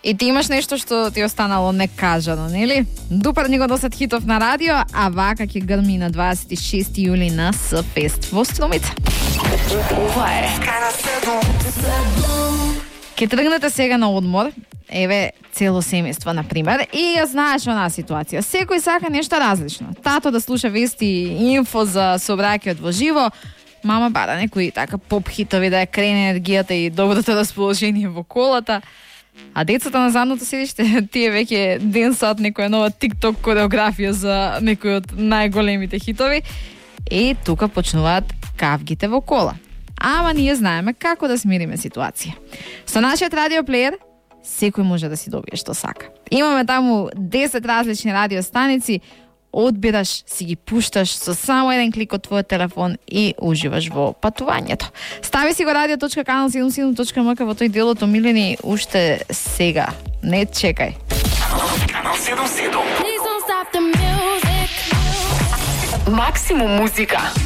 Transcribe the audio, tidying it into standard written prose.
И ти имаш нешто што ти останало некажано, нели? Дупрни го досад хитов на радио, а вака ќе грми на 26 јули на С-фест во Струмица. Ова е Ке тргнете сега на одмор, еве цело семејство на пример, и ја знаеш онаа ситуација. Секој сака нешто различно. Тато да слуша вести и инфо за сообраќајот во живо, мама бара некои така поп хитови да ја крене енергијата и доброто расположение во колата. А децата на задното седиште, тие веќе ден сад некоја нова TikTok кореографија за некои од најголемите хитови. И тука почнуваат кавгите во кола. Ама ние знаеме како да смириме ситуација. Со нашиот радиоплеер секој може да си добие што сака. Имаме таму 10 различни радиостаници, одбираш, си ги пушташ со само еден клик од твојот телефон и уживаш во патувањето. Стави си го radio.canal77.mk во тој дел од омилени уште сега. Не чекај. Канал 77. Максимум музика.